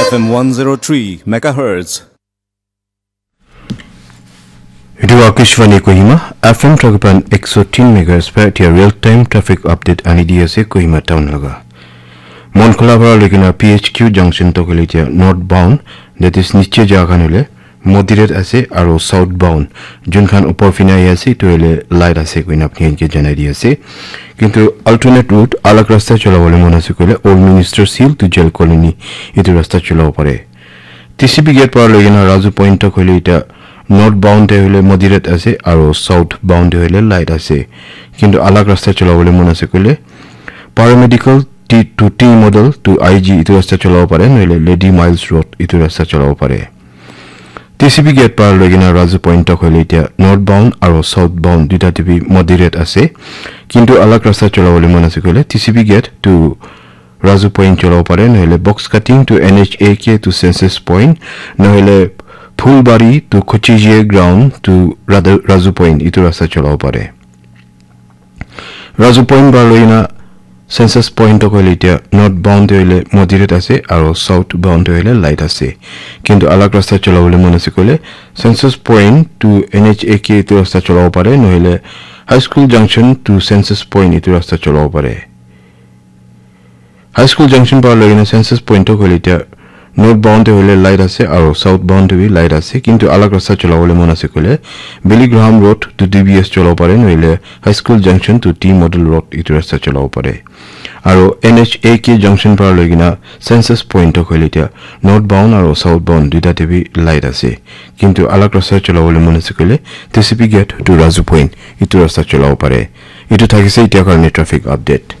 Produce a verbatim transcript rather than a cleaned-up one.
F M one zero three megahertz. Etu Akashvani Kohima, F M Thakipan ekso tin megahertz pa etia real time traffic update ani di ase Kohima town laga. Monkhola para loikena P H Q junction to kole etia northbound, that is niche jaga khan hole moderate ase aro southbound jun khan upor fina ahi ase etu hole light ase koina apni khan ke janai di ase. Kintu alternate route alag rasta chola bole mon ase koile Old Minister Hill to Jail Colony etu rasta chola pare. T C P gate para loikena Raju Point tak hoile etia northbound te hoile moderate ase aro southbound te hoile light ase. Kintu alag rasta chola bole mon ase koile paramedical T to T model to I G etu rasta chola pare nohole Lady Miles Road etu rasta chola pare. T C P gate para loikena Raju Point tak hoile etia northbound aro southbound duita te bi moderate ase. Kintu alag rasta chola bole mon ase koile T C P gate to Raju Point chola pare nohole box cutting to N H A K to Census Point nohole Phulbari to Kochijie ground to Radu- Raju Point etu rasta chola pare. Raju Point para loikena Census Point to koile etia northbound te hoile moderate ase aro southbound te hoile light ase. Kintu alag rasta chola bole mon ase koile Census Point to N H A K etu rasta chola pare nohole High School Junction to Census Point etu rasta chola pare. High School Junction para loikena Census Point to koile etia northbound te hoile light ase aro southbound te bi light ase kintu alag rasta chola bole mon ase koile Billy Graham Road to D B S chola pare nohole High School Junction to T Model Road etu rasta chola pare. Aro N H A K junction para loikena Census Point to koile etia northbound aro southbound duita te bi light ase. Kintu alag rasta chola bole mon ase koile T C P gate to Raju Point etu rasta chola pare. Etu thakise etia karone traffic update.